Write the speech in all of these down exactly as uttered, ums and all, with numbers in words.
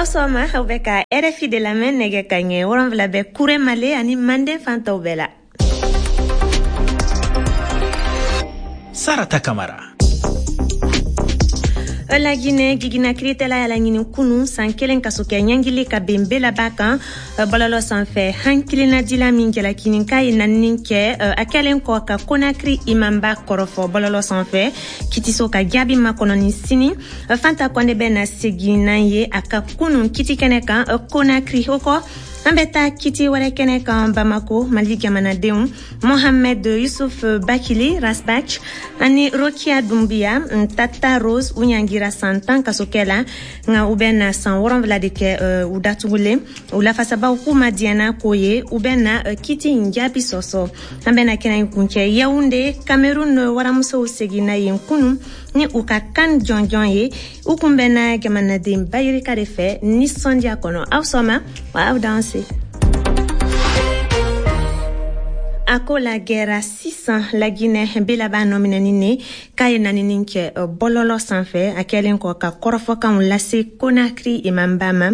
Aw sɔgɔma, aw bɛ ka R F I de lamɛn. Nɛgɛ ka ɲɛ wolonfila bɛ kure male ani manden fantaw bɛɛ la. Sarata Kamara. Laginɛ, gigina kiritɛla y'a laɲini kunu san kelen kaso kɛ ɲangili ka ben belaba kan bɔlɔlɔ sanfɛ. Hankilinadila min jalakinin k'a ye nanini kɛ a kɛlen kɔ ka Konakiri imamba kɔrɔfɔ bɔlɔlɔ sanfɛ, kitiso ka jaabi makɔnɔni sini. Fanta Kɔnde bɛ na segin n'an ye a ka kunun kiti kɛnɛ kan Konakiri. O kɔ, an bɛ taa kiti wɛrɛ kɛnɛ kan Bamako. Mali jamanadenw Mohamed Yusuf Bakili, Rasbach, ani Rokia Dumbiya, Tata Rose, u ɲangira san tan kasokɛ la, nka u bɛ na san wɔrɔnfila de kɛ u datugulen. U lafasabaw k'u ma diɲɛ n'a ko ye, u bɛ na kiti in jaabi sɔsɔ. An bɛ na kɛnɛ in kuncɛ Yawunde. Cameroun waramusow seginna yen kunun ni u ka kan jɔnjɔn ye. U kun bɛnna jamanaden bayirika de fɛ nisɔndiya kɔnɔ. Aw sɔma wa, aw danse. A ko la gɛra sisan, Laginɛ belaba nɔminɛni ne k'a ye nanini kɛ bɔlɔlɔ sanfɛ a kɛlen kɔ ka kɔrɔfɔkanw lase Konakiri imamba ma,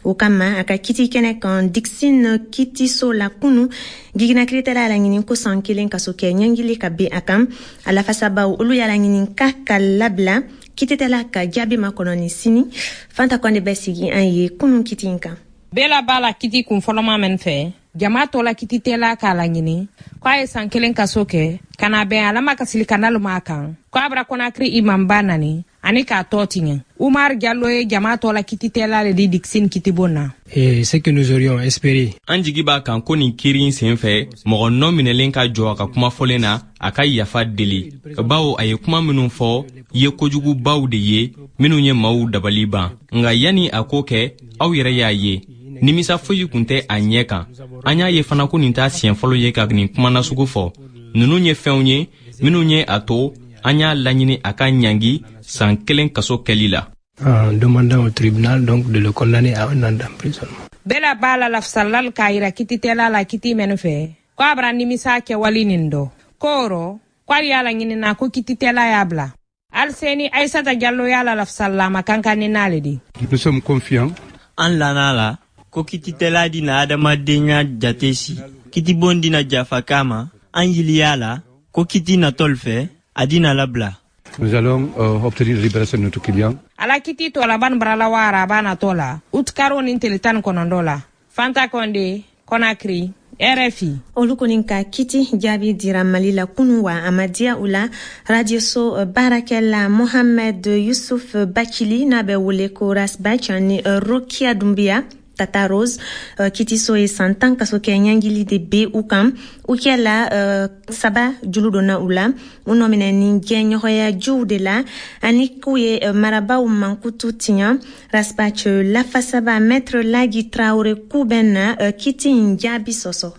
o kama a ka kiti kɛnɛ kan Dixinn kitiso la kunu, gigina kiritɛla y'a laɲini ko san kelen kaso kɛ ɲangili ka ben a kan. A lafasabaw, olu y'a laɲini k'a ka labila, kititɛla ka jaabi makɔnɔni sini. Fanta Kɔnde bɛ sigi an ye kunun kiti in kan. Bela b'a la kiti kun fɔlɔma min fɛ, jama tɔ la kititɛla k'a laɲini ko a ye san kelen kaso kɛ ka na bɛn alama kasili kanalu ma kan ko a bara Konakiri imamba nani ani k'a tɔ tiɲɛ. Umar Jalo ye jama tɔ la kititɛla le di Dixinn kitibon na. Et ce que nous aurions espéré. An jigi b'a kan ko nin kiiri in sen fɛ, mɔgɔ nɔ minɛlen ka jɔ a ka kuma fɔlen na, a ka yafa deli, bawo a ye kuma minnu fɔ ye kojugubaw de ye minnu ye maaw dabali ban. Nka yanni a k'o kɛ, aw yɛrɛ y'a ye, nimisa foyi tun tɛ a ɲɛ kan. An y'a ye fana ko nin t'a siɲɛ fɔlɔ ye ka nin kuma nasugu fɔ. Ninnu ye fɛnw ye minnu ye a to an y'a laɲini a ka ɲangi san kelen kaso kɛli la. En demandant au tribunal donc de le condamner à un an d'emprisonnement. Bela b'a la lafasalal k'a yira kititɛla la kiti mɛnu fɛ ko a bara nimisa kɛwali nin dɔ ko o rɔ ko ali y'a laɲinina ko kititɛla y'a bila. Aliseni Aisata Jalo y'a la lafasalama kankanni n'ale di. Nous sommes confiants. An lana la ko kititɛla dina adamadenya jate si kitibon dina jafa kama. An yiliya la ko kiti natɔl fɛ a dina labila. Nous allons euh, obtenir la libération de notre client. Ala kiti tɔ laban barala wa araba natɔ la, utikaro ni tele tan ni kɔnɔntɔn la. Fanta Kɔnde, Konakiri, R F I. Olu kɔni ka kiti jaabi dira Mali la kunu, wa a ma diya u la. Radioso baarakɛla Mohamed Yusuf Bakili, n'a bɛ wele ko Rasbach, ani Rokia Dumbiya, Tata Rose, uh, kitiso ye san tan kaso kɛ ɲangili de be u kan. U kɛla uh, saba julu donna u la, u nɔminɛ ni jɛɲɔgɔnya jiw de la ani k'u ye uh, marabaw mankutu tiɲɛ. Rasbach lafasaba, Maître Lagi Traore, k'u bɛ na uh, kiti in jaabi sɔsɔ.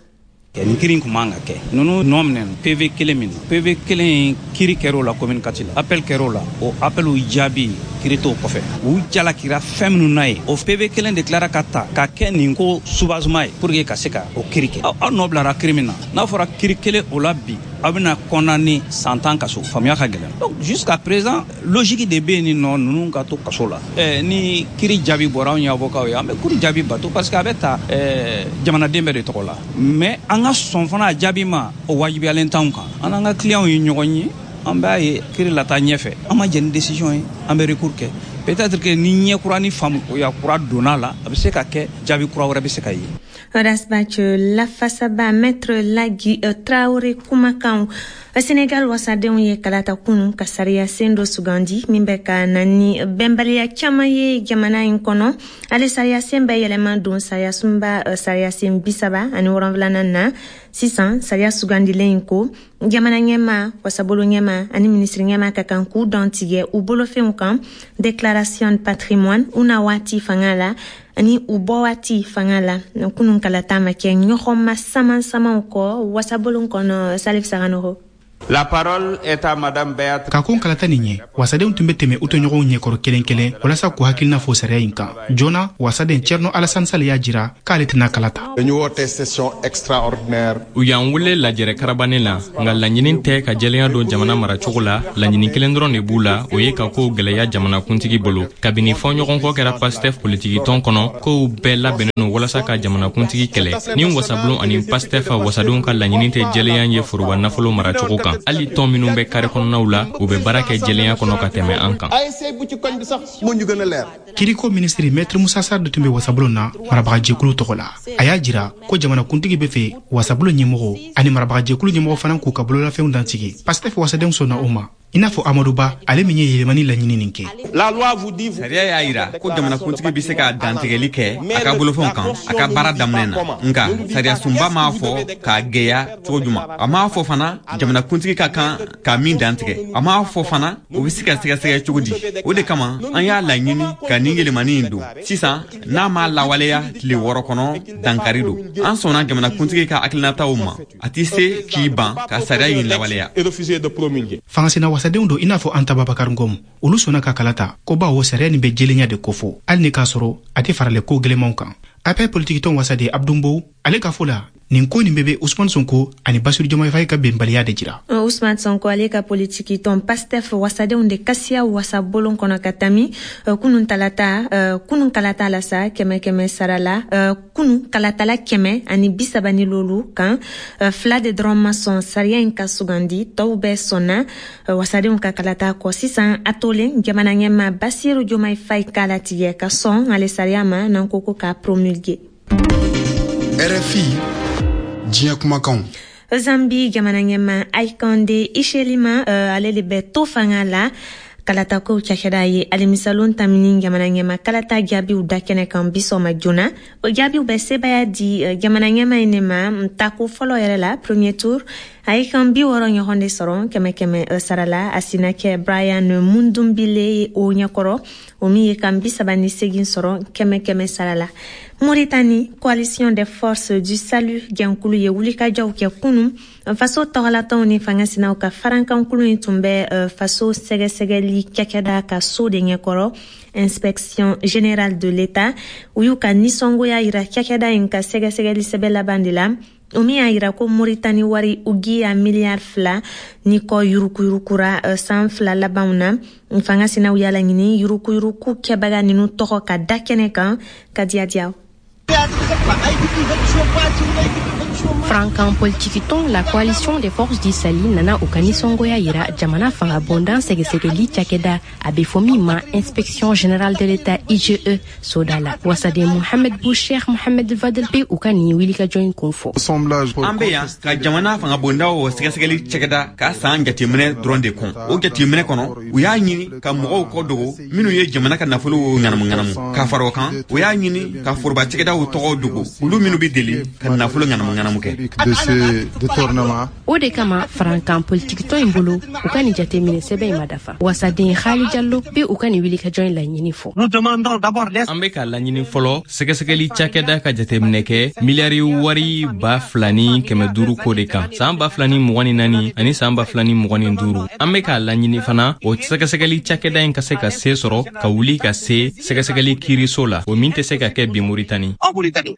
Nin kiri in kun man ka kɛ. Ninnu nɔ minɛ P V kelen min na, P V kelen in kiri kɛr'o la commune quatre la, appel kɛr'o la, o appel jaabi kiri t'o kɔfɛ. U jalakira fɛn minnu na ye, o P V kelen de tilara ka ta ka kɛ nin ko soubassement ye pour que ka se ka o kiri kɛ. Aw nɔ bilara kiri min na, n'a fɔra kiri kelen o la bi, aw bɛna condamné san tan kaso, faamuya ka gɛlɛn. Donc jusqu'à présent, logique de bɛ yen nin nɔ ninnu ka to kaso la. eh, ni kiri jaabi bɔra, anw ye avocat ye, an bɛ kiri jaabi bato parce que a bɛ ta eh, jamanaden bɛɛ de tɔgɔ la. Mais an ka sɔn fana a jaabi ma, o wajibiyalen t'anw kan. An n'an ka clients ye ɲɔgɔn ye, an b'a ye kiri lata ɲɛfɛ. An ma jɛn ni décision ye, an bɛ recours kɛ. Peut-être que ni ɲɛ kura ni faamuya kura donna la, a bɛ se ka kɛ jaabi kura wɛrɛ bɛ se ka ye. Rasbach lafasaba, Maître Lagi Traore kumakanw. Senegal wasadenw ye kalata kunu ka sariya sen dɔ sugandi min bɛ ka na ni bɛnbaliya caman ye jamana in kɔnɔ. Ale sariya sen bɛ yɛlɛma don sariya sunba sariya sen bi saba ani wɔrɔnfilanan na. Sisan sariya sugandilen in ko jamana ɲɛma, wasabolo ɲɛma ani minisiri ɲɛma ka kan k'u dantigɛ u bolofɛnw kan, déclaration de patrimoine, u na waati fanga la ani u bɔ waati fanga la. Kunun kalata ma kɛ ɲɔgɔn ma saman samanw kɔ wasabolon kɔnɔ. Salif Saganogo. La parole est à madame Beat. Ka kɔn kalata nin ɲɛ, wasadenw tun bɛ tɛmɛ u tɔɲɔgɔnw ɲɛkɔrɔ kelen kelen walasa k'u hakilina fɔ sariya in kan. Joona, wasaden Thierno Alassane Sall y'a jira k'ale tɛna kala ta. Dañu woote session extraordinaire. U y'an wele lajɛrɛ karabannen la, nka laɲini tɛ ka jɛlenya don jamana maracogo la. Laɲini kelen dɔrɔn de b'u la, o ye ka kow gwɛlɛya jamanakuntigi bolo. Kabini fɔɲɔgɔnkɔ kɛra PASTEF politikitɔn kɔnɔ, kow bɛɛ labɛnnen don walasa ka jamanakuntigi kɛlɛ. Ni wasabulon ani PASTEF wasadenw ka laɲini tɛ jɛlenya ye foroba nafolo maracogo kan. Hali tɔn minnu bɛ kare kɔnɔnaw la, u bɛ baara kɛ jɛlenya kɔnɔ ka tɛmɛ an kan. Kiriko minisiri Maître Moussa Sarr de tun bɛ wasabulon na marabagajɛkulu tɔgɔ la. A y'a jira ko jamanakuntigi bɛ fɛ wasabulon ɲɛmɔgɔ ani marabagajɛkulu ɲɛmɔgɔ fana k'u ka bololafɛnw dansigi. PASTEF wasadenw sɔnna o ma, i n'a fɔ Amadou Ba, ale min ye yɛlɛmani laɲini nin kɛ. Sariya y'a yira ko jamanakuntigi bɛ se ka dantigɛli kɛ a ka bolofɛnw kan a ka baara daminɛ na, nka sariya sunba m'a fɔ k'a gɛya cogo juman. A m'a fɔ fana jamanakuntigi ka kan ka min dantigɛ, a m'a fɔ fana o bɛ se ka sɛgɛsɛgɛ cogo di. O de kama an y'a laɲini ka nin yɛlɛmani in don sisan. N'a m'a lawaleya tile wɔɔrɔ kɔnɔ, dankari don. An sɔnna jamanakuntigi ka hakilinataw ma, a tɛ se k'i ban ka sariya in lawaleya. Fangasina wasadenw don i n'a fɔ Anta Babacar Ngom, olu sɔnna ka kala ta ko bawo sariya nin bɛ jɛlenya de kofɔ, hali ni k'a sɔrɔ a tɛ faralen ko gɛlɛmanw kan. A P R politikitɔn wasaden Abdou Mbow, ale ka fɔ la, nin ko nin bɛɛ bɛ Ousmane Sonko ani Bassirou Diomaye Faye ka bɛnbaliya de jira. Ousmane Sonko ale ka politikitɔn PASTEF wasadenw de kasiya wasabolon kɔnɔ ka tami kunun talata kunun kalata la sa kɛmɛ kɛmɛ sara la kunun kalatala kɛmɛ ani bi saba ni lolu kan, fila de dɔrɔn ma sɔn sariya in ka sugandi, tɔw bɛɛ sɔnna wasadenw ka kalata kɔ. Sisan a tolen jamana ɲɛmaa Bassirou Diomaye Faye k'a latigɛ ka sɔn ale sariya ma n'an ko ko k'a promulguer. R F I diɲɛ kumakanw. Zambi jamana ɲɛmaa Hakainde Hichilema ale de bɛ to fanga la. Kalatakow cakɛda ye alamisalon tamini jamana ɲɛma kalata jaabiw da kɛnɛ kan bi sɔgɔma joona. O jaabiw bɛ sebaya di jamana ɲɛma in de ma tako fɔlɔ yɛrɛ la, premier tour. A ye kan bi wɔɔrɔ ɲɔgɔn de sɔrɔ kɛmɛ kɛmɛ sara la. A sina kɛ Brian Mundumbile o ɲɛkɔrɔ, o min ye kan bi saba ni segin sɔrɔ kɛmɛ kɛmɛ sara la. Mauritanie, coalition des forces du salut jɛnkulu ye wulikajɔw kɛ kunun. Faso tɔgɔlatɔnw ni fangasinaw ka farankankulu in tun bɛ faso sɛgɛsɛgɛli cakɛda ka so de ɲɛkɔrɔ, inspection générale de l'État. U y'u ka nisɔngoya yira cakɛda in ka sɛgɛsɛgɛli sɛbɛn laban de la, o min y'a yira ko Mauritanie wari ugiya miliyari fila ni kɔ yurukuyurukura san fila labanw na. Fangasinaw y'a laɲini yurukuyuruku kɛbaga ninnu tɔgɔ ka da kɛnɛ kan ka diya diya. Frankan politikitɔn la coalition des forces du salut nana u ka nisɔngoya yira jamana fanga bondan sɛgɛsɛgɛli cakɛda a bɛ fɔ min ma inspection générale de l'État I G E soda la. Wasaden Mohamed Boucher Mohamed Fadel bɛ u ka nin wulikajɔ in kun fɔ. An bɛ yan ka jamana fanga bondaw sɛgɛsɛgɛli cakɛda ka san jateminɛ dɔrɔn de kɔn. O jateminɛ kɔnɔ, u y'a ɲini ka mɔgɔw kɔ dogo minnu ye jamana ka nafolo ŋanamu ŋanamu. Ka fara o kan, u y'a ɲini ka foroba cakɛdaw tɔgɔw dogo, olu minnu bɛ deli ka nafolo ŋanamu ŋanamu kɛ. De ce détournement. O de kama farankan politikitɔn in bolo, u ka nin jateminɛ sɛbɛn in ma dafa. Wasaden Khali Jallo bɛ u ka nin wulikajɔ in laɲini fɔ. An bɛ ka laɲini fɔlɔ sɛgɛsɛgɛli cakɛda ka jateminɛ kɛ miliyari wari ba fila ni kɛmɛ duuru ko de kan san ba fila ni mugan ni naani ani san ba fila ni mugan ni duuru. An bɛ ka laɲini fana o sɛgɛsɛgɛli cakɛda in ka se ka se sɔrɔ ka wuli ka se sɛgɛsɛgɛli kiiriso la, o min tɛ se ka kɛ bi Moritani.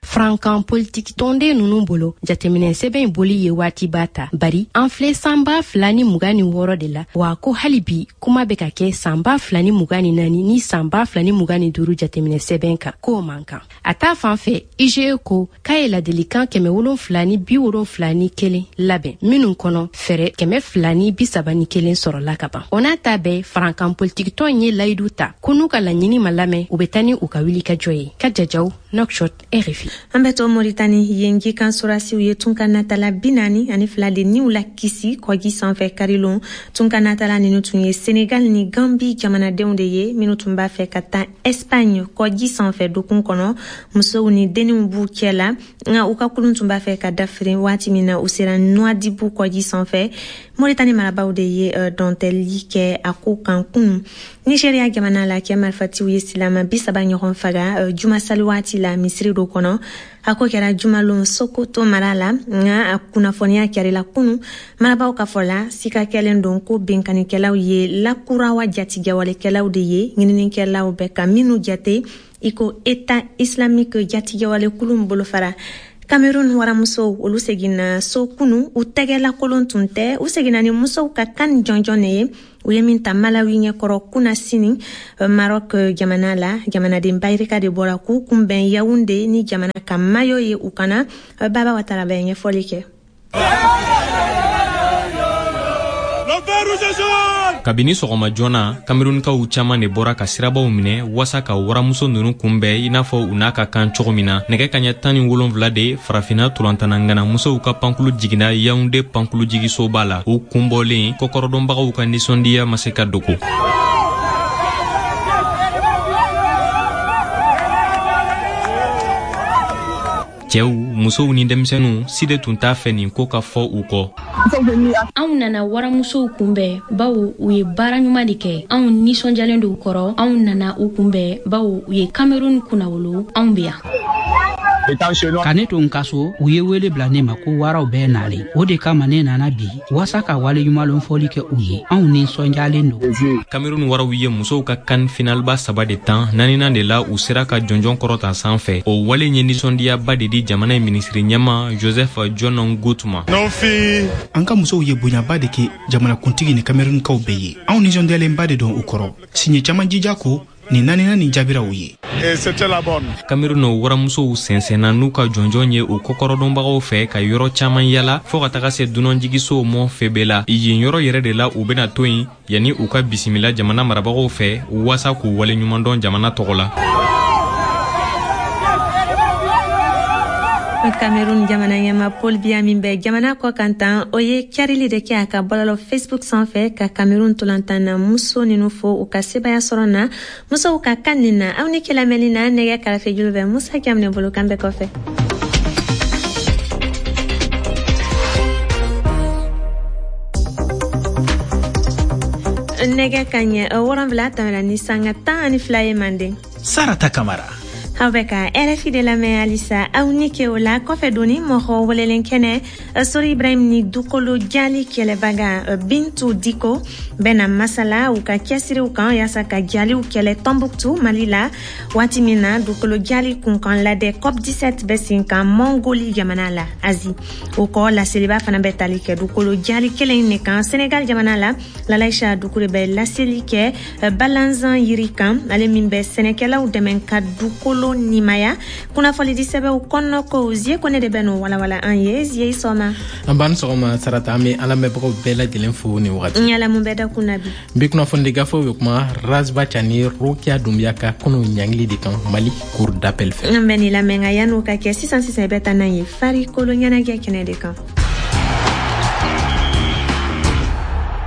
Farankan politikitɔnden ninnu bolo, jateminɛ sɛbɛn in boli ye waatiba ta, bari an filɛ san ba fila ni mugan ni wɔɔrɔ de la, wa ko hali bi kuma bɛ ka kɛ san ba fila ni mugan ni naani ni san ba fila ni mugan ni duuru jateminɛ sɛbɛn kan, k'o man kan. A ta fan fɛ, I G E ko k'a ye ladilikan kɛmɛ wolonfila ni bi wolonfila ni kelen labɛn, minnu kɔnɔ fɛɛrɛ kɛmɛ fila ni bi saba ni kelen sɔrɔla ka ban. O n'a ta bɛɛ, farankan politikitɔn ye layidu ta ko n'u ka laɲini ma lamɛn, u bɛ taa ni u ka wulikajɔ ye. Ka jajaw Nouakchott, R F I. An bɛ to Mauritanie, yen jikan sorasiw ye tunkanatala bi naani ani fila de niw la kisi kɔji sanfɛ karilon. Tunkanatala ninnu tun ye Senegal ni Gambi jamanadenw de ye minnu tun b'a fɛ ka taa Espagne kɔji sanfɛ dokun kɔnɔ. Musow ni denninw b'u cɛ la, nka u ka kulun tun b'a fɛ ka dafiri waati min na u sera Nouadhibou kɔji sanfɛ. Mauritanie marabaaw de ye dɔntɛli kɛ a ko kan kunun. Nigeria jamana la, kɛ marifatiw ye silama bi saba ɲɔgɔn faga juma sali waati la misiri dɔ kɔnɔ. A ko kɛra jumalon Sokoto mara la, nka a kunnafoniya kɛrila kunu. Marabaw ka fɔ la, sika kɛlen don ko binkannikɛlaw ye lakurawa jatigɛwalekɛlaw de ye, ɲininikɛlaw bɛ ka minnu jate i ko État islamique jatigɛwalekulu bolofara. Cameroun waramusow, olu seginna so kunu, u tɛgɛlakolon tun tɛ. U seginna ni musow ka kan jɔnjɔn de ye, u ye min ta Malawi ɲɛkɔrɔ kunna sini Maroc jamana la. Jamanaden bayirika de bɔra k'u kunbɛn Yaounde ni jamana ka mayo ye u kana. Baba Watara bɛ ɲɛfɔli kɛ. Kabini sɔgɔma joona, Kamerunkaw caaman de bɔra ka sirabaw minɛ waasa ka waramuso nunu kunbɛn i n'a fɔ u n'a ka kan cogo min na. Nɛgɛ kaɲɛ tan ni wolonfila de, farafinna tolantana musow ka pankulu jiginna Yaounde pankulu jigisoba la. U kunbɔlen, kɔkɔrɔdɔnbagaw ka nisɔndiya ma se ka dogo. Cɛw, musow ni denmisɛnninw si de tun t'a fɛ nin ko ka fɔ u kɔ. Anw nana waramusow kunbɛn bawo u ye baara ɲuman de kɛ. Anw nisɔndiyalen don u kɔrɔ. Anw nana u kunbɛn bawo u ye Cameroun kunnawolo. Anw bɛ yan. Ka ne to n ka so, u ye wele bila ne ma ko waraw bɛɛ nalen. O de kama ne nana bi waasa ka waleɲumanlɔn fɔli kɛ u ye. Anw nisɔndiyalen don. Cameroun waraw ye musow ka kan finalba saba de tan, naaninan de la u sera ka jɔnjɔn kɔrɔta sanfɛ. O wale ye nisɔndiyaba de di jamana in minisiri ɲɛma Joseph John Ngut ma. An ka musow ye bonyaba de kɛ jamanakuntigi ni Camerounkaw bɛɛ ye. Anw nisɔndiyalenba de don u kɔrɔ. Siɲɛ caman jija ko nin naaninan nin jaabira u ye. Cameroun waramusow sɛnsɛnna n'u ka jɔnjɔn ye u kɔkɔrɔdɔnbagaw fɛ ka yɔrɔ caman yala fɔɔ ka taga se dunanjigisow mɔ Febe la. Yen yɔrɔ yɛrɛ de la u bɛna to yen yanni u ka bisimila jamana marabagaw fɛ waasa k'u waleɲumandɔn jamana tɔgɔ la. Cameroun jamana ɲɛma Paul Biya min bɛ jamana kɔ kan tan, o ye carili de kɛ a ka bɔlɔlɔ Facebook sanfɛ ka Cameroun tolantan na muso ninnu fo u ka sebaya sɔrɔ na musow ka kan nin na. Aw ni kɛlamɛnni na, nɛgɛ karafe julu bɛ Musa Jaminɛ bolo kan bɛɛ kɔfɛ. Nɛgɛ kaɲɛ wɔrɔnwula tɛmɛna ni sanga tan ani fila ye manden. Sarata Kamara. Aw bɛ ka R F I de lamɛn halisa. Aw ni ke o la kɔfɛ doni mɔgɔ welelen kɛnɛ Sori Ibrahim ni dukolo jali kɛlɛbaga Bintu Diko bɛna masala u ka cɛsiriw kan yaasa ka jaliw kɛlɛ Tombouctou Mali la, waati min na dukolo jali kunkan ladɛ COP dix-sept bɛ sen kan Mongoli jamana la Asie. O kɔ, laseliba fana bɛ tali kɛ dukolo jali kelen de kan Senegal jamana la. Lalaïcha Dukure bɛ laseli kɛ balanzan yiri kan, ale min bɛ sɛnɛkɛlaw dɛmɛ ka dukolo nimaya. Kunnafonidi sɛbɛnw kɔnɔ ko Zie Kone de bɛ n'o walawala an ye. Zie, i sɔgɔma. An b'an sɔgɔma Sarata, an bɛ an lamɛnbagaw bɛɛ lajɛlen fo nin wagati. N yala mun bɛ da kun na bi? Bi kunnafonidi gafew bɛ kuma Razba Cani Rokia Doumbia ka kunu ɲangili de kan Mali cour d'appel fɛ. An bɛ nin lamɛn, nka yan'o ka kɛ, sisan sisan i bɛ taa n'an ye farikolo ɲɛnajɛ kɛnɛ de kan.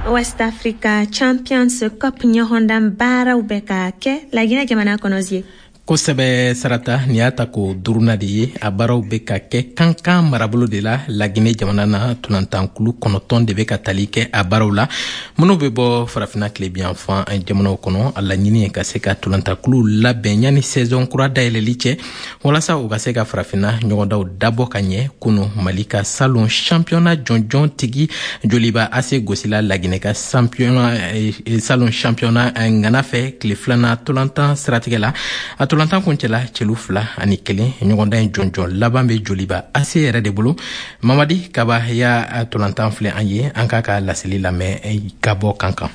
West Africa Champions Cup ɲɔgɔndan baaraw bɛ ka kɛ Laginɛ jamana kɔnɔ. Zie. Kosɛbɛ Sarata, nin y'a ta ko duruna de ye. A baaraw bɛ ka kɛ Kankan marabolo de la Laginɛ jamana na. Tolantankulu kɔnɔntɔn de bɛ ka tali kɛ a baaraw la, minnu bɛ bɔ farafinna tilebinyanfan jamanaw kɔnɔ. A laɲini ye ka se ka tolantankulu labɛn yanni saison kura dayɛlɛli cɛ, walasa u ka se ka farafinna ɲɔgɔndaw dabɔ ka ɲɛ. Kunu, Mali ka salon championnat jɔnjɔn tigi Joliba A C gosila Laginɛ ka salon championnat ŋana fɛ tile filanan tolantan siratigɛ la. A tolantan kuncɛla celu fila ani kelen. Ɲɔgɔndan in jɔnjɔn laban bɛ Joliba A C yɛrɛ de bolo. Mamadi Kaba y'a tolantan filɛ an ye, an k'a ka laseli lamɛn ka bɔ Kankan.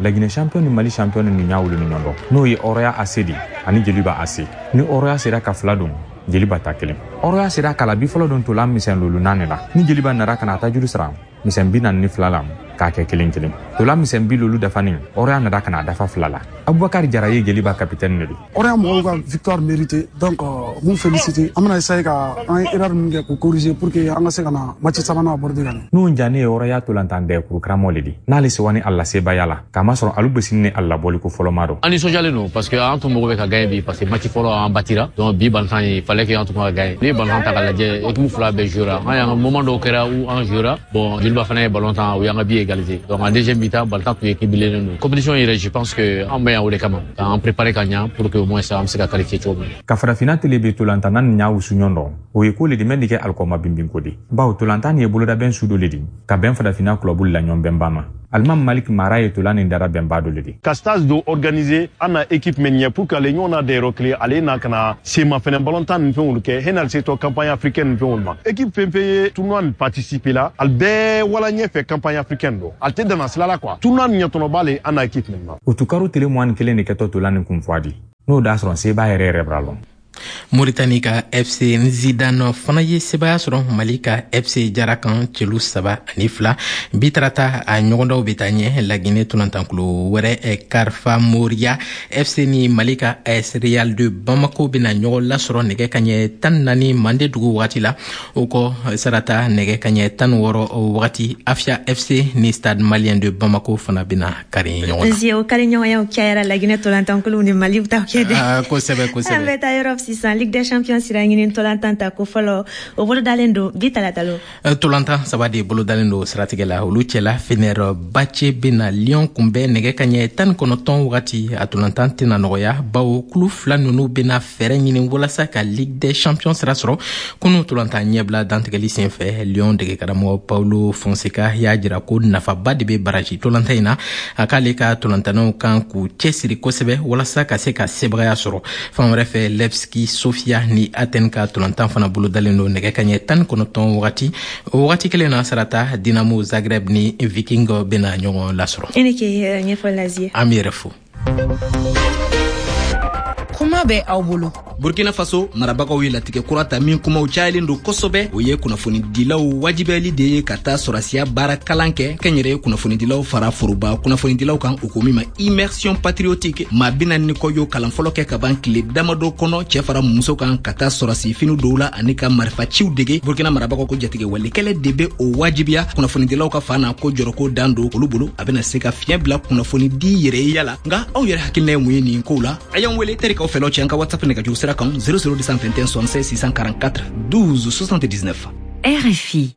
Laginɛ champion ni Mali champion ni ɲa wolo ni ɲɔgɔn dɔn, n'o ye Oroya A C de ani Joliba A C. Ni Oroya sera ka fila don, Joliba ta kelen. Oroya sera k'a la bi fɔlɔ don tola misɛn lolu naani la. Ni Joliba nara ka na a ta juru sara misɛn bi naani ni fila la k'a kɛ kelen kelen. Tola misɛn bi lolu dafanen, Oroya nara ka na a dafa fila la. Abubakar Jara ye Joliba capitaine de don. Oroya mɔgɔw ka victoire méritée, donc mun féliciter. An bɛna essayer ka an ye erreur min kɛ k'o corriger pour que an ka se ka na match sabanan aborder ka ɲɛ. N'o jane ye Oroya tolantan dɛkuru karamɔgɔ le di. N'ale sewa ni a la sebaya la, k'a masɔrɔ alu bɛ ni a labɔli ko fɔlɔ ma dɔn. An nisɔndiyalen don parce que an tun mago bɛ ka gagner bi, parce que match fɔlɔ an batira. Donc bi balontan il fallait que an tun ka gagner. N'i ye balontan ta k'a lajɛ, équipe fila bɛɛ jouera. An y'an ka moment dɔw kɛra où an jouera. Bon, Joliba fana ye ballon tan, u y'an ka but égaliser. Donc en deuxième mi-temps, balontan tun équilibré don. Compétition yɛrɛ, je pense que an bɛ yan o de kama, k'an préparer ka ɲa pour que au moins an bɛ se ka qualifier cogo min. Ka farafinna tele bɛ tolantanna ni ɲa wusu ɲɔgɔn dɔn, o ye ko le di mɛn di kɛ alikɔma binbinko di, bawo tolantan nin ye bolodabɛn su dɔ le di ka bɛn farafinna kulɔbu la ɲɔgɔn bɛnba ma. Alimam Malik Mara ye tola nin dara bɛnba dɔ le di. Ka stage dɔ organiser an na équipe min ɲɛ pour que ale ɲɔgɔn na dayɔrɔ kelen ale na ka na sema fɛnɛ balontan nin fɛnw kɛ henal se tɔ campagne africaine nin fɛnw ma. Équipe fɛn fɛn ye tournoi nin participer la, ale bɛɛ wala ɲɛfɛ campagne africaine dɔ, ale tɛ danna sira la quoi. Tournoi nin ɲɛtɔnɔba le an na équipe min ma. Otukaro tele mugan ni kelen de kɛtɔ tola nin kun fɔ di, n'o da sɔrɔ seba yɛrɛ yɛrɛ b'a lɔn. Mauritanie ka F C Nzidane fana ye sebaya sɔrɔ Mali ka F C Jara kan celu saba ani fila. Bi tarata a ɲɔgɔndaw bɛ taa ɲɛ Laginɛ tolantankulu wɛrɛ Karfa Moria F C ni Mali ka A S Real de Bamako bɛna ɲɔgɔn lasɔrɔ nɛgɛ kaɲɛ tan naani mande dugu wagati la. O kɔ sarata nɛgɛ kaɲɛ tan wɔɔrɔ wagati Afia F C ni Stade Malien de Bamako fana bɛna kari ɲɔgɔn na. Nzi o kari ɲɔgɔnyaw cayara Laginɛ tolantankuluw ni Mali taw kɛ dɛ. Kosɛbɛ kosɛbɛ. An bɛ taa yɔrɔ sisan Ligue des Champions sira ɲini tolantan ta ko fɔlɔ o bolodalen don bi talata lo. Tolantan saba de bolodalen don siratigɛ la, olu cɛla Fenerbahçe bɛna Lyon kunbɛn nɛgɛ kaɲɛ tan ni kɔnɔntɔn wagati. A tolantan tɛna nɔgɔya bawo kulu fila ninnu bɛna fɛɛrɛ ɲini walasa ka Ligue des Champions sira sɔrɔ. Kunu tolantan ɲɛbila dantigɛli senfɛ, Lyon degekaramɔgɔ Paulo Fonseca y'a jira ko nafaba de bɛ baraji tolantan in na. A k'ale ka tolantannaw kan k'u cɛsiri kosɛbɛ walasa ka se ka sebagaya sɔrɔ. Fan wɛrɛ fɛ, Levski Sofia ni Athènes ka tolantan fana bolodalen don nɛgɛ kaɲɛ tan ni kɔnɔntɔn wagati. O wagati kelen na sarata Dinamo Zagreb ni Viking bɛna ɲɔgɔn lasɔrɔ. I ni ke ɲɛfɔli la Zie. An b'i yɛrɛ fo. Kuma bɛ aw bolo. Burkina Faso marabagaw ye latigɛ kura ta min kumaw cayalen don kosɛbɛ. O ye kunnafonidilaw wajibiyali de ye ka taa sɔrɔsiya baara kalan kɛ kɛnyɛrɛye kunnafonidilaw fara foroba kunnafonidilaw kan, o ko min ma immersion patriotique. Maa bi naani ni kɔ y'o kalan fɔlɔ kɛ ka ban tile damadɔ kɔnɔ, cɛ fara muso kan, ka taa sɔrɔsi fini dɔw la ani ka marifaciw dege. Burkina marabagaw ko jatigɛ walekɛlɛ de bɛ o wajibiya kunnafonidilaw ka fan na, ko jɔrɔko dan don olu bolo, a bɛna se ka fiɲɛ bila kunnafonidi yɛrɛyeya la. Nka aw yɛrɛ hakilina ye mun ye nin kow la? A y'an wele terikaw fɛlaw cɛ an ka WhatsApp nɛgɛjuru sira kan zéro zéro deux cent vingt et un soixante-seize six cent quarante-quatre douze soixante-dix-neuf. R F I.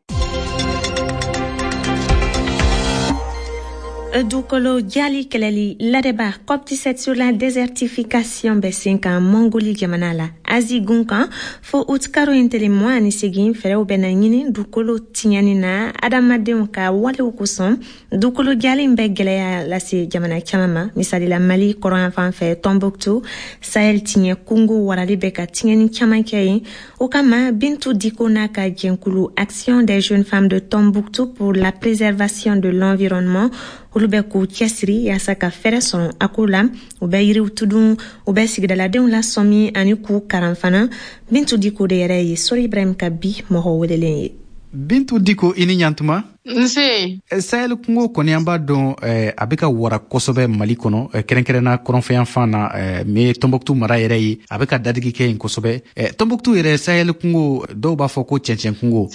Dugukolo jali kɛlɛli ladɛba COP dix-sept sur la désertification bɛ sen kan Mongoli jamana la. Asie gun kan fo août karo in tele mugan ani seegin fɛɛrɛw bɛna ɲini dugukolo tiɲɛni na adamadenw ka walew kosɔn. Dugukolo jali in bɛ gɛlɛya lase jamana caman ma, misali la Mali kɔrɔnyanfan fɛ Tombouctou, Sahel tiɲɛ kungo warali bɛ ka tiɲɛni caman kɛ yen. O kama Bintu Diko n'a ka jɛnkulu Action des jeunes femmes de Tombouctou pour la préservation de l'environnement olu bɛ k'u cɛsiri yaasa ka fɛɛrɛ sɔrɔ a ko la. U bɛ yiriw tudun, u bɛ sigidaladenw lasɔmi ani k'u karan fana. Bintu Diko de yɛrɛ ye Sori Ibrahim ka bi mɔgɔ welelen ye. Bintu Diko, i ni ɲantuma. Nse. Sahel kungo kɔni an b'a dɔn a bɛ ka wara kosɛbɛ Mali kɔnɔ, kɛrɛnkɛrɛnna kɔrɔnfɛyanfan na, min ye Tombouctou mara yɛrɛ ye, a bɛ ka dadigi kɛ yen kosɛbɛ. Tombouctou yɛrɛ Sahel kungo, dɔw b'a fɔ ko cɛncɛn kungo,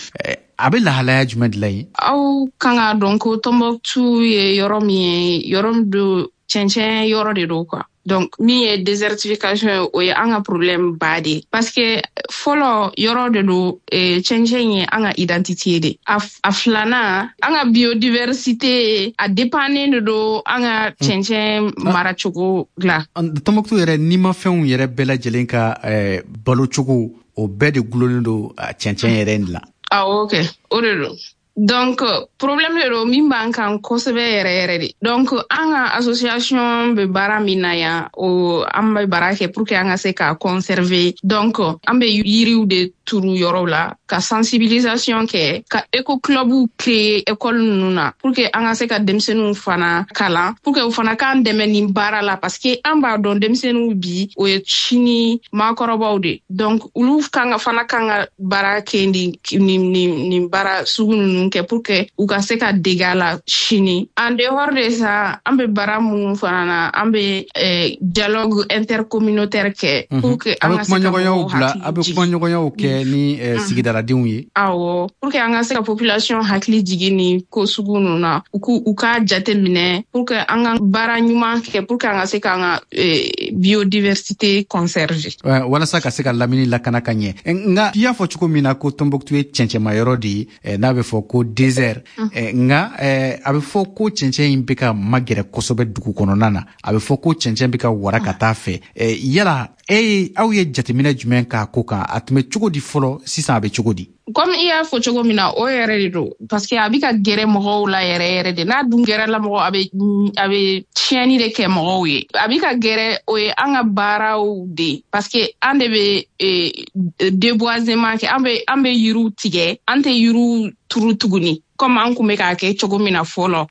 a bɛ lahalaya jumɛn de la yen? Aw kan k'a dɔn ko Tombouctou ye yɔrɔ min ye, yɔrɔ min don cɛncɛn yɔrɔ de don quoi. Donc min ye désertification ye, o ye an ka problème ba de ye, parce que fɔlɔ yɔrɔ de don cɛncɛn ye an ka identité de. A, a filanan, an ka biodiversité a dépendant de don an ka cɛncɛn maracogo la. Tombouctou yɛrɛ nimafɛnw yɛrɛ bɛɛ lajɛlen ka eh, balocogo o bɛɛ de gulonnen don cɛncɛn yɛrɛ in la. Awɔ kɛ, o de don. Donc problème de don min b'an kan kosɛbɛ yɛrɛ yɛrɛ de. Donc an ka association bɛ baara min na yan, o an bɛ baara kɛ pour que an ka se k'a conserver. Donc an bɛ yiriw de turu yɔrɔw la, ka sensibilisation kɛ, ka éco clubw créer école ninnu na pour que an ka se ka denmisɛnninw fana kalan, pour que u fana k'an dɛmɛ nin baara la, parce que an b'a dɔn denmisɛnninw bi o ye sini maakɔrɔbaw de. Donc olu kan ka fana kan ka baara kɛ nin nin nin baara sugu ninnu kɛ pour que u ka se ka dege a la sini. En dehors de ça, an bɛ baara minnu fana na, an bɛ eh, dialogue intercommunautaire kɛ pour que an ka se ka mɔgɔw hakili jigin. A bɛ kumaɲɔgɔnyaw kɛ kɛ ni sigidaladenw ye. Awɔ, pour que an ka se ka population hakili jigin ni ko sugu ninnu na, u k'u u k'a jate minɛ pour que an ka baara ɲuman kɛ, pour que an ka se k'an ka biodiversité conserver. Walasa ka se ka lamini lakana ka ɲɛ. Nka i y'a fɔ cogo min na ko Tombouctou ye cɛncɛnmayɔrɔ de ye, n'a bɛ fɔ ko désert. Nka a bɛ fɔ ko cɛncɛn in bɛ ka magɛrɛ kosɛbɛ dugu kɔnɔna na, a bɛ fɔ ko cɛncɛn bɛ ka wara ka taa fɛ. Yala e aw ye jateminɛ jumɛn k'a ko kan? A tun bɛ cogo di fɔlɔ, sisan a bɛ cogo di? Comme i y'a fɔ cogo min na, o yɛrɛ de don, parce que a bɛ ka gɛrɛ mɔgɔw la yɛrɛ yɛrɛ de. N'a dun gɛrɛla mɔgɔ, a bɛ a bɛ tiɲɛni de kɛ mɔgɔw ye. A bɛ ka gɛrɛ, o ye an ka baaraw de, parce que an de bɛ déboisement kɛ, an bɛ an bɛ yiriw tigɛ, an tɛ yiriw turu tuguni comme an kun bɛ k'a kɛ cogo min na fɔlɔ.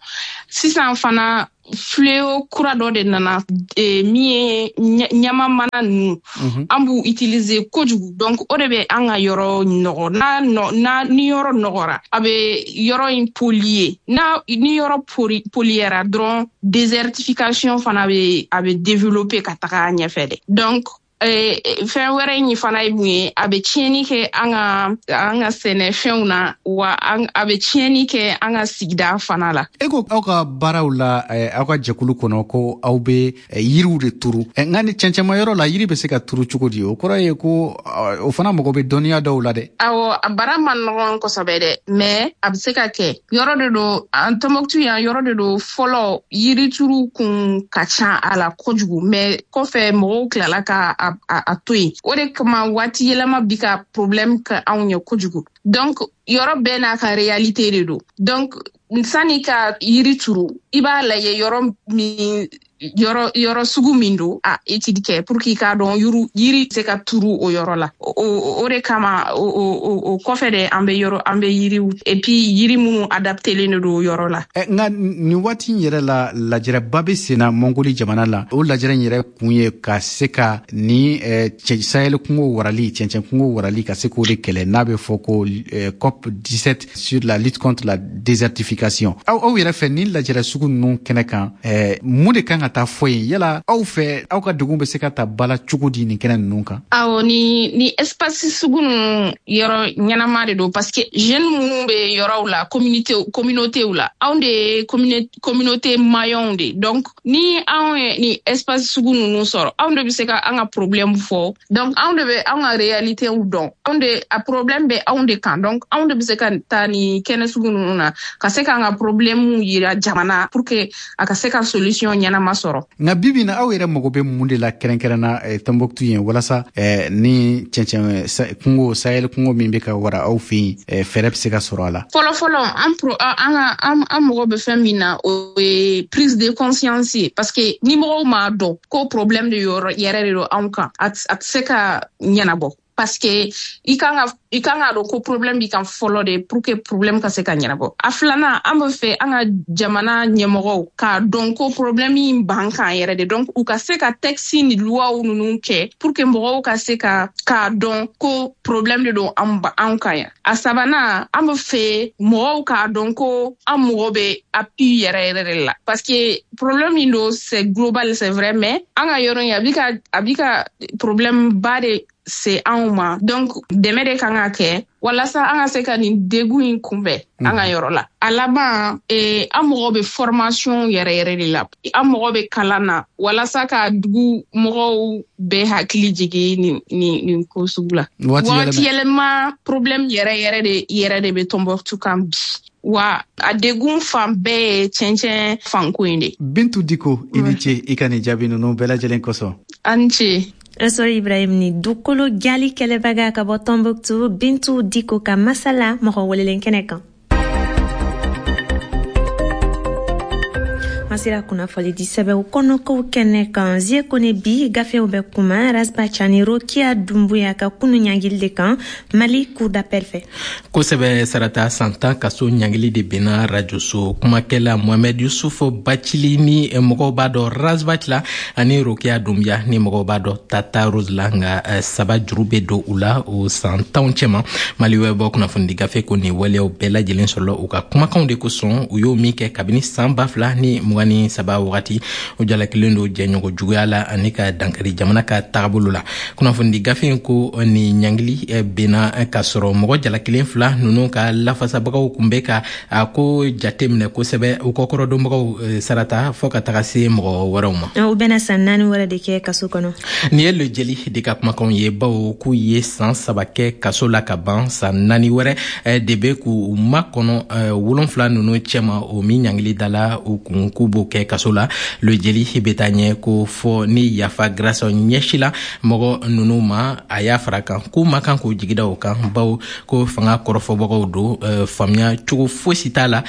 Sisan fana fléau kura dɔ de nana, min ye ɲama mana ninnu, an b'u utiliser kojugu. Donc o de bɛ an ka yɔrɔ nɔgɔ. N'a n'a ni yɔrɔ nɔgɔra, a bɛ yɔrɔ in polluer. N'a ni yɔrɔ polluera dɔrɔn, désertification fana bɛ a bɛ développer ka taga ɲɛfɛ dɛ. Donc fɛn wɛrɛ in fana ye mun ye, a bɛ tiɲɛni kɛ an ka an ka sɛnɛfɛnw na, wa a bɛ tiɲɛni kɛ an ka sigida fana la. E ko aw ka baaraw la, aw ka jɛkulu kɔnɔ, ko aw bɛ yiriw de turu. Nka ni cɛncɛnma yɔrɔ la, yiri bɛ se ka turu cogo di? O kɔrɔ ye ko o fana mago bɛ dɔnniya dɔw la dɛ. Awɔ, a baara man nɔgɔn kosɛbɛ dɛ, mais a bɛ se ka kɛ. Yɔrɔ de don, an Tombouctou yan yɔrɔ de don, fɔlɔ yirituru kun ka ca a la kojugu, mais kɔfɛ mɔgɔw tilala ka a a to yen. O de kama waati yɛlɛma bi ka problème kɛ anw ye kojugu. Donc yɔrɔ bɛɛ n'a ka réalité de don. Donc sani ka yiri turu, i b'a lajɛ yɔrɔ min, yɔrɔ yɔrɔ sugu min don, a étude kɛ pour que i k'a dɔn yiri yiri se ka turu o yɔrɔ la. O o de kama o o o kɔfɛ de an bɛ yɔrɔ an bɛ yiriw, et puis yiri minnu adaptelen de don o yɔrɔ la. Nka nin waati in yɛrɛ la, lajɛrɛba bɛ sen na Mongoli jamana la. O lajɛrɛ in yɛrɛ kun ye ka se ka ni Sahel kungo warali, cɛncɛn kungo warali, ka se k'o de kɛlɛ, n'a bɛ fɔ ko COP dix-sept sur la lutte contre la désertification. Aw aw yɛrɛ fɛ, nin lajɛrɛ sugu ninnu kɛnɛ kan, mun de kan ka taa fɔ yen? Yala aw fɛ, aw ka degun bɛ se ka ta bala cogo di nin kɛnɛ ninnu kan? Awɔ, ni ni espace sugu ninnu yɔrɔ ɲɛnama de don, parce que jeunes minnu bɛ yɔrɔw la, communauté communauté la, anw de ye communauté maillon de. Donc ni anw ye ni espace sugu ninnu sɔrɔ, anw de bɛ se ka an ka problème fɔ. Donc anw de bɛ anw ka réalité dɔn, anw de a problème bɛ anw de kan. Donc anw de bɛ se ka taa ni kɛnɛ sugu ninnu na ka se k'an ka problème yira jamana pour que a ka se ka solution ɲɛnama sɔrɔ. Nka bibi na, aw yɛrɛ mago bɛ mun de la kɛrɛnkɛrɛnna Tombouctou yen, walasa ni cɛncɛn kungo, Sahel kungo min bɛ ka wara aw fɛ yen, fɛɛrɛ bɛ se ka sɔrɔ a la? Fɔlɔ fɔlɔ, an pro an ka an an mago bɛ fɛn min na, o ye prise de conscience ye, parce que ni mɔgɔw m'a dɔn ko problème de yɔrɔ yɛrɛ de don anw kan, a tɛ se ka ɲɛnabɔ. Parce que i kan ka i kan k'a dɔn ko problème b'i kan fɔlɔ de, pour que problème ka se ka ɲɛnabɔ. A filanan, an bɛ fɛ an ka jamana ɲɛmɔgɔw k'a dɔn ko problème in b'an kan yɛrɛ de. Donc u ka se ka texte ni loi ninnu kɛ pour que mɔgɔw ka se ka k'a dɔn ko problème de don an anw kan yan. A sabanan, an bɛ fɛ mɔgɔw k'a dɔn ko an mɔgɔ bɛ appui yɛrɛ yɛrɛ de la, parce que problème in don, c'est global, c'est vrai, mais an ka yɔrɔ in a bi ka a bi ka problème ba de se anw ma. Donc dɛmɛ de kan ka kɛ walasa an ka se ka nin degun in kunbɛn an ka yɔrɔ la. A laban, eh, an mɔgɔ bɛ formation yɛrɛ yɛrɛ de la, an mɔgɔ bɛ kalan na walasa ka dugu mɔgɔw bɛɛ hakili jigin nin nin nin ko sugu la. Waati yɛlɛma problème yɛrɛ yɛrɛ de yɛrɛ de bɛ Tombouctou kan bi, wa a degun fan bɛɛ ye cɛncɛn fanko in de. Bintu Diko, i ni ce i ka nin jaabi ninnu bɛɛ lajɛlen kosɔn. A ni ce. Sɔrɔ Ibrahim, ni dukolo jali kɛlɛbaga ka bɔ Tombouctou, Bintu Diko ka masala mɔgɔ welelen kɛnɛ kan. An sera kunnafoni di sɛbɛnw kɔnɔkow kɛnɛ kan. Zie Kone bi gafew bɛ kuma Ras Bath ni Rokia Dumbuya ka kunu ɲangili de kan Mali cour d'appel fɛ. Kosɛbɛ Sarata, san tan kaso ɲangili de benna rajoso kumakɛla Mohamed Yusuf Bacili ni mɔgɔw b'a dɔn Ras Bath la, ani Rokia Dumbuya ni mɔgɔw b'a dɔn Tata Rose la, nka saba juru bɛ don u la o san tanw cɛma. Mali wɛrɛ bɔ kunnafonidi gafe ko nin waleyaw bɛɛ lajɛlen sɔrɔla u ka kumakanw de kosɔn, u y'o min kɛ kabini san ba fila ni mugan mugan ni saba wagati. O jalakilen don jɛɲɔgɔn juguya la ani ka dankari jamana ka tagabolo la. Kunnafonidi gafe in ko ni ɲangili benna ka sɔrɔ mɔgɔ jalakilen fila ninnu ka lafasabagaw kun bɛ ka a ko jate minɛ kosɛbɛ, u kɔkɔrɔdonbagaw sarata fɔ ka taga se mɔgɔ wɛrɛw ma. U bɛna san naani wɛrɛ de kɛ kaso kɔnɔ. Nin ye Le Jeli de ka kumakanw ye, bawo k'u ye san saba kɛ kaso la ka ban, san naani wɛrɛ de bɛ k'u makɔnɔ wolonfila ninnu cɛma, o min ɲangili dala u kun k'u b'o kɛ kaso la. Le Jeli bɛ taa ɲɛ ko fɔ ni yafa grâce ɲɛsila mɔgɔ ninnu ma, a y'a fara kan k'u ma kan k'u jigi da o kan, bawo ko fanga kɔrɔfɔbagaw don, faamuya cogo fosi t'a la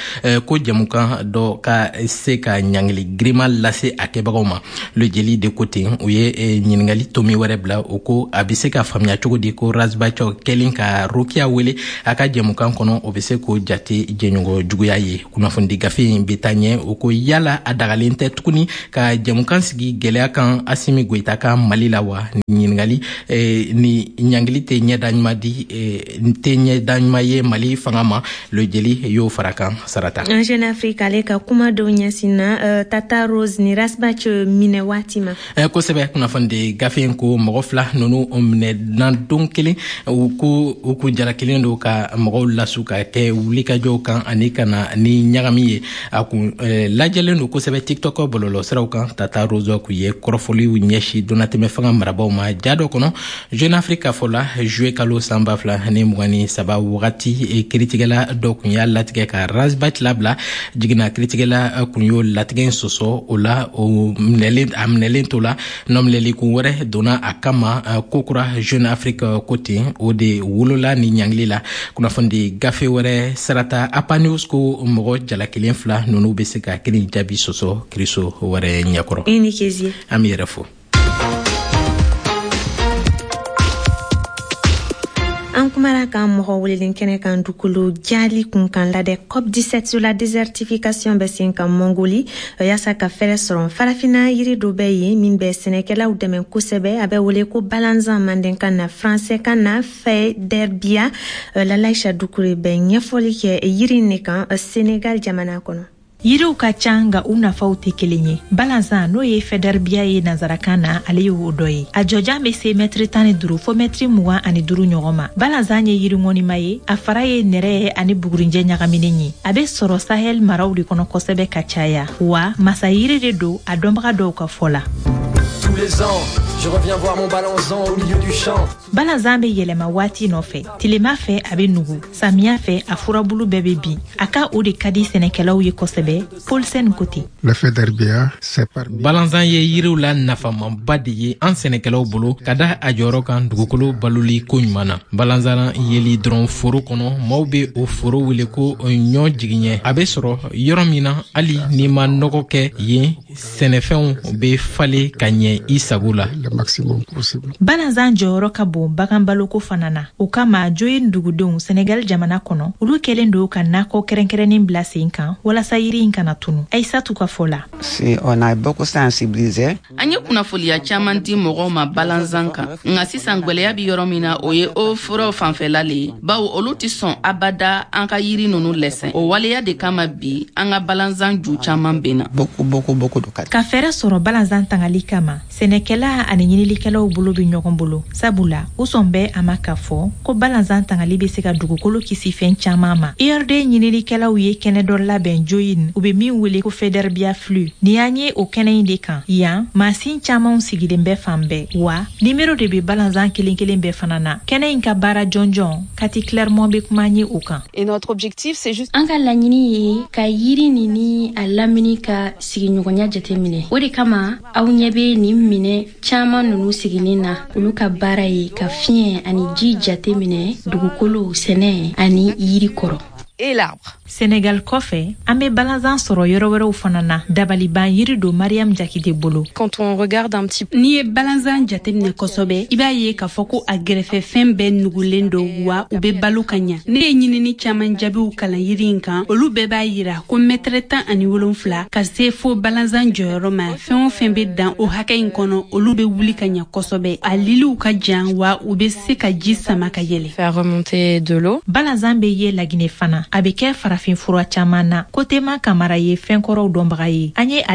ko jɛmukan dɔ ka se ka ɲangili girinma lase a kɛbagaw ma. Le Jeli de ko ten, u ye ɲininkali tomi wɛrɛ bila, o ko a bɛ se ka faamuya cogo di ko Ras Bath kɛlen ka Rokia wele a ka jɛmukan kɔnɔ, o bɛ se k'o jate jɛɲɔgɔn juguya ye. Kunnafonidi gafe in bɛ taa ɲɛ, o ko yala a dagalen tɛ tuguni ka jɛmukan sigi gɛlɛya kan Asimi Goyita ka Mali la wa? Ɲininkali eh, ni ɲangili tɛ ɲɛda ɲuman di, eh, tɛ ɲɛda ɲuman ye Mali fanga ma. Le Jeli y'o fara kan sarata. Jeune Afrique ale ka kuma dɔw ɲɛsinna uh, Tata Rose ni Ras Bath minɛ waati ma. Eh, kosɛbɛ, kunnafonidi gafe in ko mɔgɔ fila ninnu minɛna don kelen, u ko u kun jalakilen don ka mɔgɔw lasu ka kɛ wulikajɔw kan ani ka na ni ɲagami ye. A kun eh, lajɛlen don kosɛbɛ TikTok bɔlɔlɔsiraw kan. Tata Rose kun ye kɔrɔfɔliw ɲɛsin donnatɛmɛ fanga marabaw ma ja dɔ kɔnɔ. Jeune Afrique ka fɔ la, juillet kalo san ba fila ni mugan ni saba wagati, kiritigɛla dɔ kun y'a latigɛ ka Ras Bath labila. Jiginna kiritigɛla kun y'o latigɛ in sɔsɔ, o la o minɛlen a minɛlen to la, nɔminɛli kun wɛrɛ donna a kama kokura. Jeune Afrique ko ten, o de wolola ni ɲangili la. Kunnafonidi gafe wɛrɛ sarata, A P A News ko mɔgɔ jalakilen fila ninnu bɛ se ka kelen jaabi sɔsɔ kiriso wɛrɛ ɲɛkɔrɔ. I ni Kezie. An b'i yɛrɛ fo. An kumara kan mɔgɔ welelen kɛnɛ kan dugukolo jali kun kan ladɛ COP dix-sept sur la désertification bɛ sen kan Mongoli, yaasa ka fɛrɛ sɔrɔ farafina yiri dɔ bɛ yen min bɛ sɛnɛkɛlaw dɛmɛ kosɛbɛ. A bɛ wele ko balanzan mandenkan na, français kan na Faidherbia. Lalaisha Dukure bɛ ɲɛfɔli kɛ yiri ne kan Senegal jamana kɔnɔ. Yiriw ka ca, nka u nafaw tɛ kelen ye. Balanzan, n'o ye Faidherbia ye nansarakan na, ale ye o dɔ ye. A jɔjan bɛ se mɛtiri tan ni duuru fo mɛtiri mugan ani duuru ɲɔgɔn ma. Balanzan ye yiri ŋɔnima ye, a fara ye nɛrɛ ani bugurinjɛ ɲagaminen ye. A bɛ sɔrɔ Sahel maraw de kɔnɔ kosɛbɛ ka caya, wa masa yiri de don a dɔnbaga dɔw ka fɔ la. Tous les ans, je reviens voir mon balanzan au milieu du champ. Balanzan bɛ yɛlɛma waati nɔfɛ. Tilema fɛ, a bɛ nugu, samiya fɛ, a furabulu bɛɛ bɛ bin. A ka o de ka di sɛnɛkɛlaw ye kosɛbɛ. Paulsen ko ten. Le Faidherbia, c'est parmi Balanzan ye yiriw la nafamaba de ye an sɛnɛkɛlaw bolo, ka da a jɔyɔrɔ kan dugukolo baloli ko ɲuman na. Balanzan yeli dɔrɔn foro kɔnɔ, maaw bɛ o foro wele ko ɲɔ jigiɲɛ. A bɛ sɔrɔ yɔrɔ min na, hali n'i ma nɔgɔ kɛ yen, sɛnɛfɛnw bɛ falen ka ɲɛ i sago la. Le maximum possible. Balanzan jɔyɔrɔ ka bon bagan baloko fana na. O kama, Joyin dugudenw Senegal jamana kɔnɔ, olu kɛlen don ka nakɔ kɛrɛnkɛrɛnnen bila sen kan walasa yiri in kana tunu. Aisatu ka fɔ la: Si on a beaucoup sensibilisé. An ye kunnafoniya caman di mɔgɔw ma balanzan kan, nka sisan gwɛlɛya bi yɔrɔ min na, o ye o furaw fanfɛla le ye, bawo olu tɛ sɔn abada an ka yiri nunu lɛsɛn. O waleya de kama bi an ka balanzan ju caman benna. Beaucoup, beaucoup, beaucoup de cas. Ka fɛɛrɛ sɔrɔ balanzan tangali kama, sɛnɛkɛla ani ɲinilikɛlaw bolo bɛ ɲɔgɔn bolo, sabula u sɔn bɛ a ma k'a fɔ ko balanzan tangali bɛ se ka dugukolo kisi fɛn caman ma. I R D ɲinilikɛlaw ye kɛnɛ dɔ labɛn Joyin, u bɛ min wele ko Faidherbia Flux. Nin y'an ye o kɛnɛ in de kan yan, mansin camanw sigilen bɛ fan bɛɛ, wa nimero de bɛ balanzan kelen kelen bɛɛ fana na. Kɛnɛ in ka baara jɔnjɔn, Kati Clermont bɛ kuma ye o kan. Et notre objectif, c'est juste An ka laɲini ye ka yiri nin ni a lamini ka sigiɲɔgɔnya jateminɛ. O de kama aw ɲɛ bɛ nin minɛ caaman nunu siginin na. Olu ka baara ye ka fiɲɛ ani ji jateminɛ dugukolo, sɛnɛ ani yiri kɔrɔ. Et l'arbre. Senegal kɔfɛ, an bɛ balanzan sɔrɔ yɔrɔ wɛrɛw fana na. Dabaliban yiri don Mariam Jakite bolo. Quand on regarde un petit N'i ye balanzan jateminɛ kosɛbɛ, i b'a ye k'a fɔ ko a gɛrɛfɛ fɛn bɛɛ nugulen don, wa u bɛ balo ka ɲa. Ne ye ɲinini caaman jaabiw kalan yiri in kan, olu bɛɛ b'a yira ko mɛtɛrɛ tan ani wolonfila ka se fo balanzan jɔyɔrɔ ma, fɛn o fɛn bɛ dan o hakɛ in kɔnɔ, olu bɛ wuli ka ɲa kosɛbɛ. A liliw ka jan, wa u bɛ se ka ji sama ka yɛlɛ. Faire remonter de l'eau. Balanzan bɛ ye Laginɛ fana. A bɛ kɛ farafin fura caman na. Kotema Kamara ye fɛnkɔrɔw dɔnbaga ye. An ye